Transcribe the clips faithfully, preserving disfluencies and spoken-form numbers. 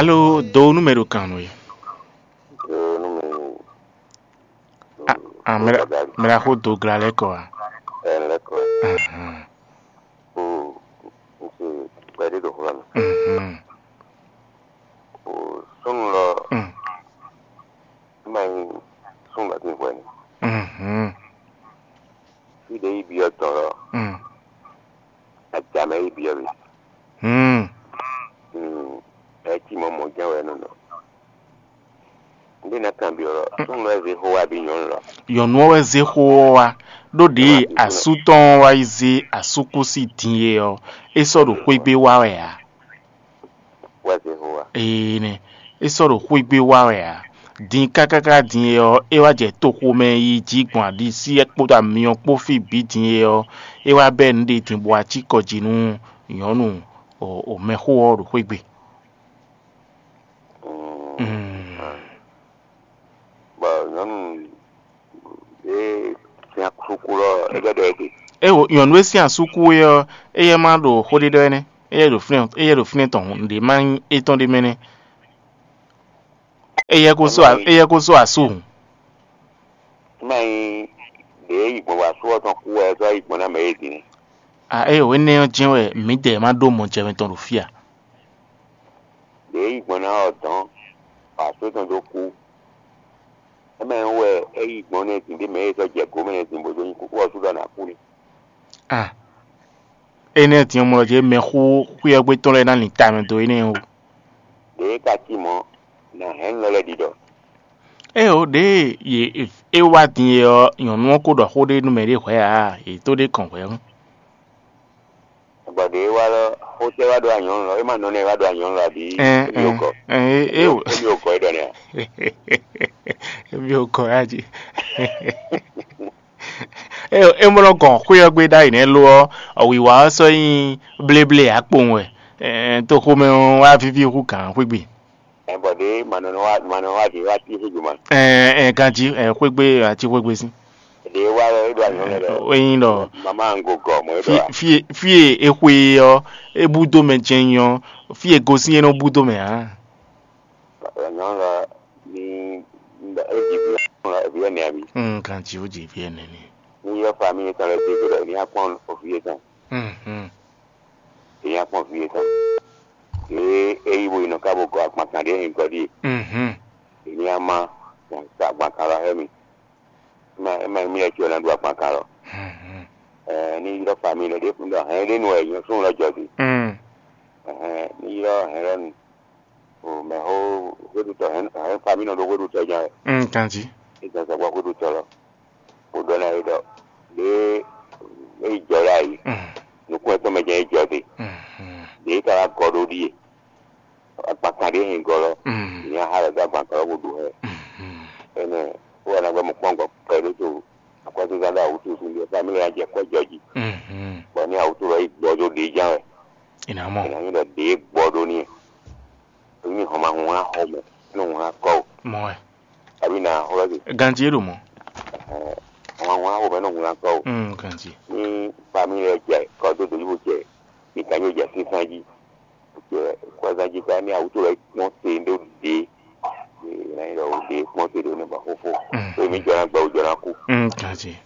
Alo, do nú mɛ ɖo kan nú we. Yo, nú mi. Ah, ah, mɛ ɖa- mɛ ɖaxó do gla lɛ́ kɔ a? Ɛ lɛ́ kɔ. Ahan. O, n se kpɛɖé ɖo xlɔ́ mi. Mhm. O, súnnu lɔ Mm. ma nyí súnnu lɔ sín hwɛ ni. Mhm. Fí ɖě yi byɔ́ dɔ̌n lɔ, Mm. ajǎ mɛ yi byɔ́ mi. Hmm. Hmm. Ɛ cí mɔ mɔ jɛ́n wɛ nɔ nɔ. Ndé ná kanbyɔ́ lɔ, súnnu lɔ zé xó wá bí nyɔ̌nu lɔ. Nyɔ̌nu ɔ́ wɛ zé xó ɔ́ wá, ɖó ɖě asú tɔn ɔ́ wá yi zé asúkúsi din e ɔ́, é sɔ́ ɖo xwé gbé wá wɛ ǎ. Wá zé xó wá. Ee nɛ, é sɔ́ ɖo xwé gbé wá wɛ ǎ. Din kákáká din e ɔ́, é wá jɛ toxo mɛ yi jí gbɔn aɖisí kpódó amyɔ kpó fí bǐ din e ɔ́, é wá bɛ́ nǔ ɖe din bɔ wá cí kɔ jí nú nyɔ̌nu o mɛxó ɔ́ ɖo xwé gbe. Mm. Bɔ nyɔ̌nu e sin asúkú lɔ, é ɖɔ ɖɔ é ɖe. É wo nyɔ̌nu e sin asúkú é ɔ́, éyɛ́ ma ɖo xó ɖé ɖɔ énɛ́. Éyɛ́ ɖo fínɛ́ éyɛ́ ɖo fínɛ́ tɔn hǔn, ɖě ma nyí étɔn ɖé mɛ nɛ́. Éyɛ́ ko só a- éyɛ́ ko só asú hǔn. Má nyí ɖě yi gbɔn bɔ asú ɔ́ tɔn kú wɛ é sɔ́ yi gbɔn ná mɛ é din. A é o énɛ́ ɔ́ jɛ́n wɛ mǐdɛɛ ma ɖó mɔ jɛ mɛ tɔn ɖo fí a? Ɖě yi gbɔn ná ɔ́ dɔn, bɔ asú tɔn dó kú. É mɛ wɛ é yi gbɔn nɛ́ din ɖé mɛ é sɔ́ jɛ gǒ mɛ nɛ́ din bó dó nyí kúkú ɔ́ sú ɖɔ ná kú ni. A énɛ́ din ɔ́ mɔ lɔ jɛ mɛxó xwé ɔ́ gbé tɔn lɛ́ɛ ná lin ta mɛ dó énɛ́ o. Ɖě é ka cí mɔ̌, nǎ hɛn nú lɔ lɛ́ɛ ɖiɖɔ. É o ɖěe yě é wá din é ɔ́, nyɔ̌nu ɔ́ ko ɖɔ xó ɖé nú mɛ ɖé hwɛ̌ ǎ, yě tó ɖé kɔn hwɛ̌ ɔ́. Bɔ ɖě e wá lɔ, xó tɛ́ wá ɖo anyɔ̌nu lɔ, é ma nɔ nɛ wá ɖo anyɔ̌nu lɔ abǐ? Ɛn, Émi o gɔ. Ɛn, é, é, o- Émi o gɔ é ɖɔ nɛ a? Émi o gɔ ya jí. É, é mɔ nɔ gɔn xwé ɔ́ gbé ɖ'ayǐ nɛ́ lo ɔ́, wǐwá ɔ́ sɔ́ nyí bléblé ǎ kpowun wɛ. Ɛn, toxomɛ ɔ́ wá víví hú gǎn xwé gbe. Ɛ bɔ ɖě ma nɔ wá ma nɔ wá ɖě wá tí xwé gbe ma. Ɛn, ɛn, ganjí, ɛn, xwé gbe, ati xwé gbe sín. Ɖě wá lɔ é ɖo anyɔ̌ lɛ lɔ. É nyí ɖɔ Mama ŋgo gɔ mɔ é ɖɔ fí a? Fí e- fí e é xwe é ɔ́, é bú dó mɛ jɛ́n nyí ɔ́, fí e gosín é nɔ bú dó mɛ ǎ. Nyɔ̌nu lɔ ní é jí vǐ vǐ ɛnɛ abi? Mm, kan jí ó jí vǐ ɛnɛ ni. Ní yɔ famille tɔn lɛ dé gbé ɖɔ ní akpɔn òfin yé tɔn. Mm, mm. Ní akpɔn òfin yé tɔn. Ɖě é yí bo yi nɔ ká bo gɔ agbankan ɖé nyǐgɔ ɖíe. Mm, mm. Ní ama sa agbankan lɔ hɛ mi. Ma ma mi lɛ tso na ɖu agbankan lɔ. Mm, mm. Ɛ ní ylɔ́ famille lɛ ɖé fún ɖɔ hɛn ɖé nu wɛ nyɔ sún lɔ jɔ di. Mm. Ɛhɛn, ní ylɔ́ hɛn lɔ nu. O mɛ xó xwéɖutɔ hɛn hɛn famille nɔ ɖo xwéɖutɔ jɛn wɛ. Mm, kanjí. Ìgbésẹ̀ gbọ́ xwéɖutɔ lɔ. Kpódó ná é ɖɔ ɖé é yi jɔ ɖe ayi. Mm. Nukún ɛtɔn mɛ jɛ́n é jɔ ɖe. Mm, mm. Ɖě é ka wá gɔ ɖó ɖíe. Agbankan ɖé hɛn gɔ lɔ. Mm. Nya xa lɛ dó agbankan lɔ bó ɖu hɛ. Mm, mm. Énɛ́ wó wá ná gbɛ́ mɔ kpɔ́n gɔ kpɛɖé to akɔ́zínzán ɖo awǔtu sín ɖíe. Famíli ná jɛ kɔ́ jɔ jí. Mm, mm. Bɔ ní awǔtu lɔ yi gbɔ dó ɖě ján wɛ. Ina mɔ. Ina nyí ɖɔ ɖě gbɔ ɖó ní. Ní hɔn ma hun wá xɔ mɛ, ní hun wá kɔ o. Mɔ wɛ. Àbí nà xlɔ́ sí. Ganji é ɖo mɔ. Hɔn ma hun wá xɔ mɛ, ní hun wá kɔ o. Mm, ganji. Ní famíli lɛ jɛ kɔ dó dǒ yíbo jɛ ní kanyi jɛ sínsán jí. Jɛ kɔzán jí ká ní awútó lɛ kpɔ́n te ɖó ɖě. Ina nyí ɖɔ ɖě kpɔ́n te ɖó ní ba xófó. Mm. Tó mi jɔ ná gbɛ o jɔ ná kú. Mm, ganji.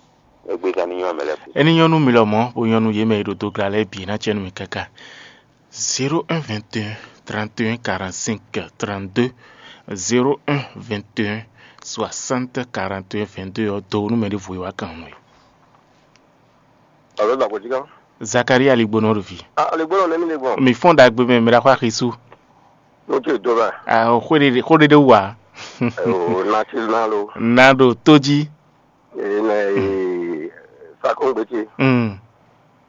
Égbé ká ní nyɔ́ mɛ lɛ kú. Eni nyɔnu mi lɔ mɔ, bo nyɔnu yé mɛ e ɖo do gla lɛ bǐ ná cɛ nú mi káká. Zéro un vingt et un trente et un quarante-cinq trente-deux, zéro un vingt et un soixante quarante et un vingt-deux ɔ́ do nú mɛ ɖěvo e wá kan nú we. Alo, Dagbotika. Zakaria Aligbonɔ ɖo vi. Ah, Aligbonɔ nɛ́ mi lɛ gbɔn? Mi fɔ́n ɖagbe mɛ, mi ɖa xɔ axi su. Mo ce do ba. Ah, xó ɖe xó ɖe ɖe wú wa. O na ti na lo. Na ɖo tó jí. Ee, nɛ ee, sakɔngbete. Mm.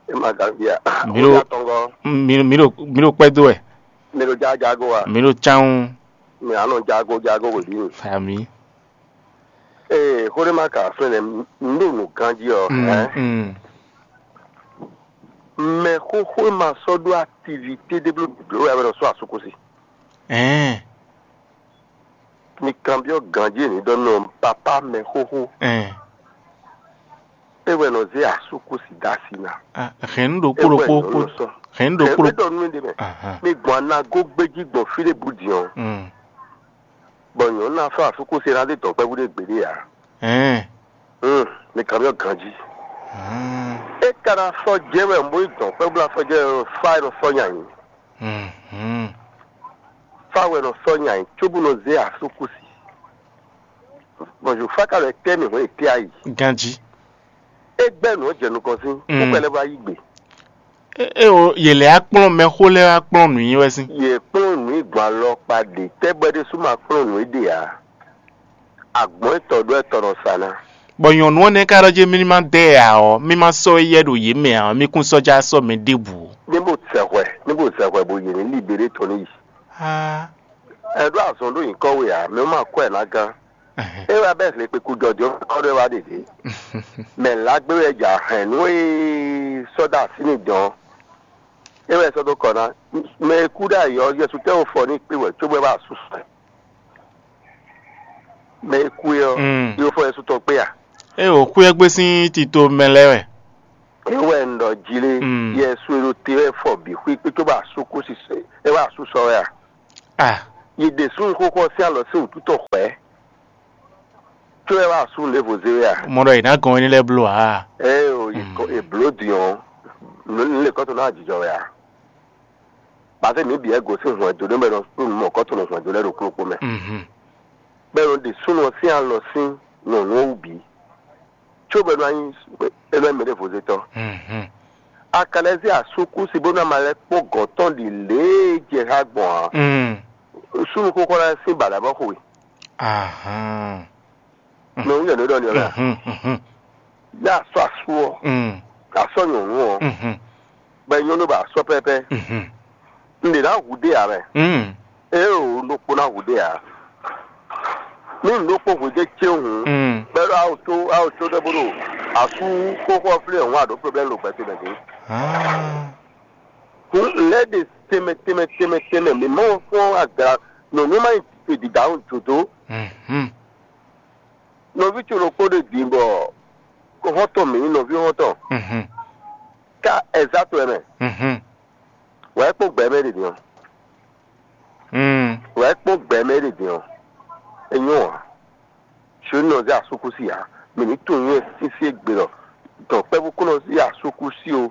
E ma Gambia. Mi ɖo- Oya tɔngɔ. Mi mi ɖo mi ɖo kpɛ do wɛ. Mi ɖo jajago wa. Mi ɖo tsanwu. Mi anɔ jago jago wòlí mi. Ami. Ee, xó ɖé ma ka fɛn nɛ, n ɖo nǔ ganjí ɔ. Mm, Hɛn. Mm. Mɛ xóxó e ma sɔ́ ɖó activité ɖé bló bló wɛ a bɛ nɔ sɔ́ asúkúsi. Ɛɛ. Mi kanbyɔ́ ganjí e ní ɖɔ nɔ papa mɛ xóxó. Ɛɛ. É wɛ nɔ zé asúkúsi dó asi ná. Ah, hɛn nú ɖokpó ɖokpó kpó. Hɛn nú ɖokpó ɖokpó. Ɖɔ nú mi ɖe mɛ. Ahan. Mi gbɔn anago gbéjí gbɔn fí ɖé bú din ɔ́. Mm. Bɔ nyɔ̌nu ná sɔ́ asúkúsi ná dé dɔ̌nkpɛvú ɖé gbeɖé ǎ. Ɛn. Mm, mi kan byɔ́ ganjí. Mm. É ka ná sɔ́ jɛ wɛ mɔ yi dɔ̌nkpɛvú ná sɔ́ jɛ wɛ fá e nɔ sɔ́ nyanyi. Mhm. Fá wɛ nɔ sɔ́ nyanyi cóbó nɔ zé asúkúsi. Bɔn Zofá ka lɔ tɛ́ mì hwɛ́n tɛ́ ayi. Ganjí. É gbɛ́ nǔ ɔ́ jɛ nukɔn sín, Mm. kúkú lɛ́ wá yí gbe. É é o, yě lɛ́ wá kplɔ́n mɛxó lɛ́ɛ wá kplɔ́n nǔ nyi wɛ sín. Yě kplɔ́n nǔ yi gbɔn alɔkpa ɖě tɛ́ bɔ é ɖésú ma kplɔ́n nǔ é ɖe ǎ. Agbɔ̌n etɔ́ ɖó etɔ́ nɔ sa ná. Bɔ nyɔ̌nu ɔ́ nɛ́ ka ɖɔ jí mí ní má dɛ ɛ ǎ ɔ́, mí má sɔ́ éyɛ́ ɖo yě mɛ ǎ ɔ́, mí kún sɔ́ já sɔ́ mɛ ɖěbǔ ó. Ní bó zɛ hwɛ, ní bó zɛ hwɛ bó yě ní libéré tɔn ní yi. Aa. Ɛ ɖó azɔn ɖó nyǐkɔ we ǎ, mɛ ma kɔ ɛ ná gán. Ɛhɛn. É wá bɛ́ hle kpeku jɔjɔ kɔ ɖé wá ɖeɖe. Mɛ lágbé wɛ ja hɛn nú e sɔ́ dó así ní dɔn. É wɛ sɔ́ dó kɔ ná. Mɛ e kú ɖó ayǐ ɔ́, Yɛsu tɛ́ wo fɔ ní kpé wɛ cóbɔ é wá asú sɔ́ ɛ. Mɛ e kú é ɔ́, Mm. Yó fɔ Yɛsu tɔn kpé a? É wǒ xwé ɔ́ gbé sín tito mɛ lɛ́ɛ wɛ. É wɛ un ɖɔ jí lé, Mm. Yɛsu e ɖo te wɛ fɔ bǐ xwé kpé cóbɔ asú kú sisɛ, é wá asú sɔ́ wɛ a? Ah. Yi ɖe súnnu xóxó ɔ́ sín alɔ sín wǔtu tɔn xwɛ̌. Có wɛ wá asú nǔɖévo zé wɛ a? Mɔ ɖɔ è nǎ gɔn éní lɛ́ɛ bló ǎ. Ée o, è Mm. kɔ- è blǒ din ɔ́, nǔ lě kɔ́ tɔn ná jijɔ wɛ a? Bǎ fɛ mǐ bǐ wɛ gosín hwɛndo ɖé mɛ ɖɔ súnnu mɔ kɔ́ tɔn hwɛndo lɛ́ɛ ɖo kplɔ́kpó mɛ. Mhm. Bɔ è nɔ ɖe súnnu ɔ́ sín alɔ sín nyɔ̌nu ɔ́ wú bǐ. Có bɔ é nɔ nyí é nɔ nyí mɛɖěvozetɔ́. Mhm. A ka lɛ́ zé asúkúsi bónú a ma lɛ́ kpɔ́n gɔ̌n tɔn ɖi lě e jɛ xá gbɔn ǎ. Mm. Súnnu xóxó ná sín baɖǎ bɔ xo we. Ahán. Mɛ wú yɛn ɖó ɖɔ ni ɔ́ lɛ. Mhm, mhm. Yá a sɔ́ asú ɔ́, Mm. a sɔ́ nyɔ̌nu ɔ́, Mhm. bɔ é nyɔ́ nú bɔ a sɔ́ pɛ́pɛ́. Mhm. Un ɖě ná hu ɖé ǎ mɛ. Mm. Éeǒ, un ɖokpó ná hu ɖé ǎ. Nú un ɖokpó hu ɖé cé hǔn, Mm. bɛ́ ɖɔ a ó tó a ó tó ɖɔ bó ɖo asú xóxó ɔ́ flé hǔn a ɖǒ problème ɖo gbɛtɔ́ mɛ dě. Ah. Hǔn lɛ́ ɖe tɛnmɛ tɛnmɛ tɛnmɛ tɛnmɛ mǐ mɔ fɔ́n aga nyɔ̌nu ma nyi dǐdǎhún dǒdó. Mhm. Nɔví ce ɖokpó ɖe din bɔ xɔ́ntɔn mǐ nyí nɔví xɔ́ntɔn Mhm. ká ɛzátɔ ɛ mɛ. Mhm. Wǎ é kpɔ́n gbɛ mɛ ɖe din ɔ́. Mm. Wǎ é kpɔ́n gbɛ mɛ ɖe din ɔ́. É nyɔ́ ǎ. Ṣé nɔ zé asúkúsi ǎ? Mǐ ní tunwun nywɛ́ sísí égbé ɖɔ dɔ̌nkpɛ́vú kún nɔ zé asúkúsi ó.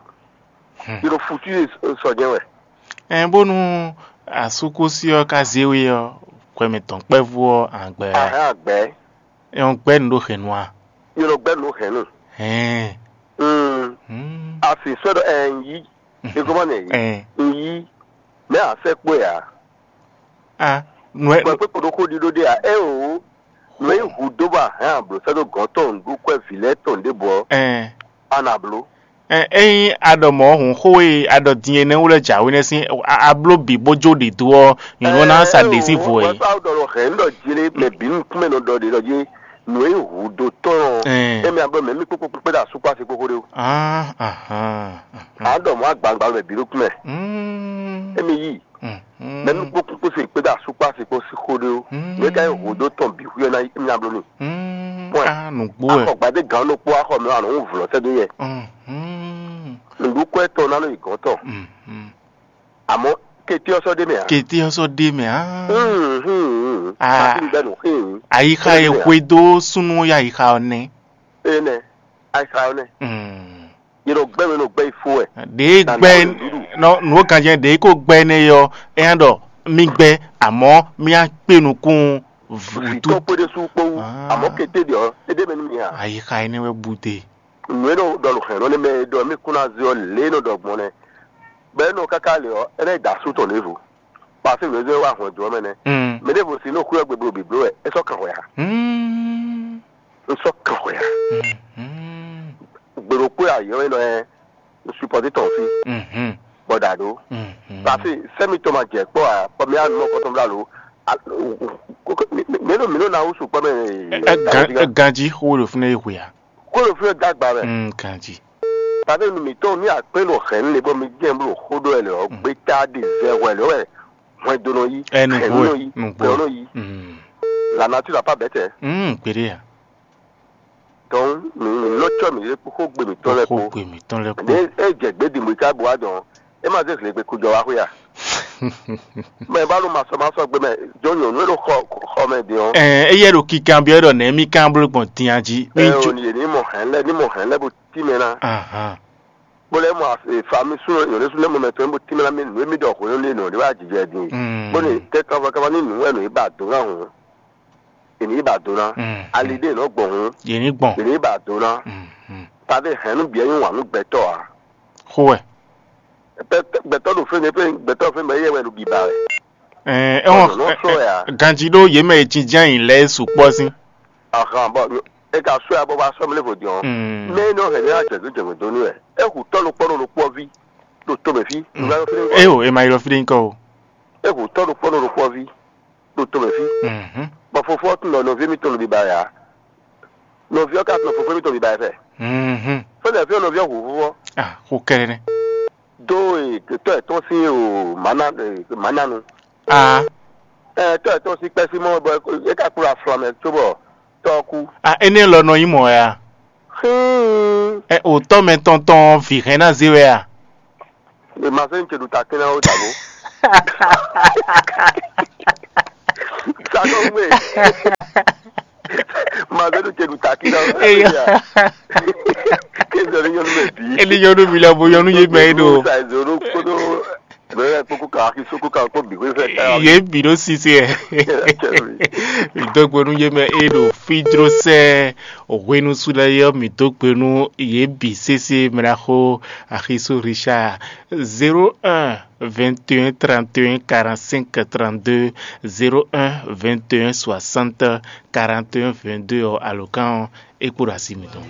Hmm. Yě ɖo futu e sɔ jɛ́n wɛ. Ɛn bónú asúkúsi ɔ́ ka zé we ɔ́, hwɛ mɛ dɔ̌nkpɛ́vú ɔ́, an gbɛ a? Ahɛn agbɛ̌. Ɛn gbɛ́ nǔ ɖo hɛ̌nnu a? Yě nɔ gbɛ́ nǔ hɛ̌nnu. Hɛn. Mm. Hmm. A sì sɔ́ ɖɔ ɛn yí. Ìgbọ́mọ nìyí. Ẹ. Nyí mɛ asɛkpɔ́ ya. A nù ẹ. Kpɛkpɛ koɖo xó ɖiɖó ɖe a ɛ o. Mɛ yi hu dó ba hɛn ablo sɛ́ dó gɔ̌n tɔn ɖu kwɛ vǐ lɛ́ɛ tɔn ɖěbǔ ɔ́. Ɛ. A nà bló. Ɛ ényí a ɖɔ mɔ̌ hǔn xó e a ɖɔ din é nɛ́ wú lɛ́ jǎwe nɛ́ sín a- a bló bǐ bó jó ɖě dó ɔ́, nyɔ̌nu ɔ́ ná sa ɖě sín vo é. Wɛ́ fáwọn ɖɔ hɛn ɖɔ jí lé mɛ bǐ nukúnmɛ nɔ ɖɔ ɖě ɖɔ jí nǔ e hu dó tɔn. Ɛ. Émi a ɖɔ mɛ mí kpókpó kpékpé ɖo asúkpá sí kpókpó ɖé o. Ah, ahan, ahan. A ɖɔ mɔ̌ agbagba mɛ bǐ nukúnmɛ. Mm. Émi yí. Mm, mm. Mɛ nú kpókpó kpó se kpéɖo asúkpá se kpó sí xó ɖé ó. Mm. Mɛ ka yi hǒdó tɔn bǐ xwíyɔ ná nya bló n'i. Mm. Pɔ́n. Ah, nǔgbó wɛ. Axɔ gbadé gǎn ɖokpó axɔ mɛ anɔ ń vlɔ́ sɛ́ dó yɛ. Mm, mm. Nǔɖukwɛ́ tɔn ná nɔ yi gɔ̌n tɔn. Mm, mm. Àmọ́ kété ɔ́ sɔ́ ɖé mɛ ǎ. Kété ɔ́ sɔ́ ɖé mɛ á. Mm, mm, mm. Ah. Pàtí ń gbẹ́nu. Mm. Ayixa e hwe dó súnú yá ayixa ɔ́ nɛ́. Énɛ́, ayixa ɔ́ nɛ́. Mm. Yě nɔ gbɛ́ mɛ nɔ gbɛ́ yi fó wɛ. Ɖě gbɛ́ nɔ nǔ ganjɛ ɖě kó gbɛ́ nɛ yɔ, é nya ɖɔ mí gbɛ́, àmọ́ mí á kpé nukún vǔtú. Vǐtɔ́ kpé ɖésú kpó wú. Ah. Àmọ́ kété ɖe ɔ́, é ɖé mɛ nú mì ǎ. Ayixa énɛ́ wɛ bú dé. Nǔ e nɔ ɖɔ nǔ hɛn nɔ nɛ mɛ e ɖɔ mí kún ná zé ɔ́ lě e nɔ ɖɔ gbɔn nɛ. Bɔ é nɔ káká lě ɔ́, é ná yi da asú tɔn ɖěvo. Paseke nǔ e zé wá hɔn jǒ ɔ́ mɛ nɛ́. Mm. Mɛ ɖěvo si nɔ xwé ɔ́ gbe bló bǐbló wɛ, é sɔ́ kan hwɛ ǎ. Mm. Un sɔ́ kan hwɛ ǎ. Mhm. Gbe ɖokpó e ayɔ e nɔ ɛ un supɔte tɔn fí. Mhm. Bɔ ɖa ɖó. Mhm. Pase sɛmi tɔn ma jɛ kpɔ a kpɔ mi anu mɔ kɔtɔn bla lo. Mi ɖo mi ɖo na wusu kpɔ mɛ. Ɛ, ɛ, gan- ɛ, ganji xo ɖo fúnɛ yi hwe a? Kó ɖo fúnɛ dagba mɛ. Mm, ganji. Pase nu mi tɔn mi akpɛ nɔ hɛn ne bɔ mi jɛ blo xo ɖo ɛ lɛ ɔ gbeta de zɛ hwɛ lɛ wɛ hwɛ do nɔ yi. Ɛ, nugbo hɛn ɛ, nɔ yi nugbo hɛn ɛ. Nɔ yi. Mm. La nature n'a pas bête. Mm, kpeɖe ya. Tɔn mi mi nɔ tsɔ mi ɖe kpókpó gbe mǐtɔn lɛ kpó. Kpókpó gbe mǐtɔn lɛ kpó. Ne e jɛ gbědìmú yi ká bo wá dɔn, é ma zé zlěgbe kú jɔ wá xwé a? Mɛ ba ɖo masɔ masɔ gbe mɛ, jɔ nyɔ̌nu e ɖo xɔ xɔ mɛ din ɔ́. Ɛɛ, éyɛ́ ɖo kikan byɔ́ ɖɔ nɛ̌ mí kan bló gbɔn din a jí? Ɛ o, yě ní mɔ hɛn lɛ ní mɔ hɛn lɛ bo tí mɛ ná. Ahan. Bó lɛ mɔ fa mi sún nyɔ̌nu sú lɛ mɔ mɛ tɔn bo tí mɛ ná mi nǔ e mi ɖɔ hwenu ní nɔ ɖé wá jijɛ din. Mm. Bó ne tɛ kaba kaba ní nǔ wɛ nɔ yi ba do ná hǔn. Èmi yi ba do ná. Mm. Ali ɖé nɔ gbɔn hǔn. Yě ní gbɔn. Èmi yi ba do ná. Mm, mm. Tàbí hɛn nú bǐ nyí wǎn nú gbɛtɔ́ a? Xó wɛ. Gbɛtɔ́ ɖo fɛn fɛn gbɛtɔ́ fɛn mɛ yɛ wɛ ɖo biba wɛ. Ɛɛ, Ɔnɔ sɔ ya. Ganji ɖó yě mɛ e jínjɛ́n yǐ lɛ́ɛ sukpɔ́ sín. Ahan bɔ e ka sɔ ya bɔ ba sɔ mi lé vo diɔn. Mm. Mɛ e nɔ hɛn ní ajɛgbe jɛgbe dó ní wɛ. E hu tɔ́ ɖokpɔ ɖo ɖokpɔ ví ɖo to mɛ fí. Mm. Eo, e ma yi lɔ fí ɖé nyí kɔ o. E hu tɔ́ ɖokpɔ ɖo ɖokpɔ ví ɖo to mɛ fí. Mhm. Bɔ fofo ɔ́ tunwun ɖɔ nɔví mitɔn ɖo biba ya. Nɔví ɔ́ ka tunwun fofo mitɔn ɖo biba ya fɛ. Mhm. Fɛnɛ fí ɔ́ nɔví ɔ́ hu fofo ɔ́. Ah, xó kɛrɛ nɛ. Do e tɔ yětɔn sín o mǎnanu. Ah. Ɛ tɔ yětɔn sín kpɛ́ sín mɔ bɔ é ka kplɔ́ aflɔ́ mɛ cóbɔ tɔ ɔ́ kú. Ah, énɛ́ lɔ nɔ nyí mɔ̌ wɛ a? Xín. Ɛ, òtɔ́ mɛ tɔn tɔn ɔ́, vǐ hɛn ná zé wɛ a? Màzé nu ce ɖu takín ná ó dǎbó. Sakɔ́gbé. Màzé nu ce ɖu takín ná ó dǎbó. Eya. Kézɔ ní nyɔnu mɛ bǐ. Eli nyɔnu mi lɛ bo nyɔnu yé mɛ é ɖo. Sa ìzòrò kódó bẹ́ẹ̀ kókó kan akísó kó kan kó bì kó fẹ́ ká. Yé bì ɖó sise ɛ. Mi dó gbe nú yé mɛ é ɖo fídró sɛ hwenu su lɛ yɔ mi dó gbe nú yé bì sese mɛ ɖaxó. Axiso Richard, zéro un vingt et un trente et un quarante-cinq trente-deux, zéro un vingt et un soixante quarante et un vingt-deux ɔ́, alǒkan ɔ́ é kpo ɖo asi mitɔn.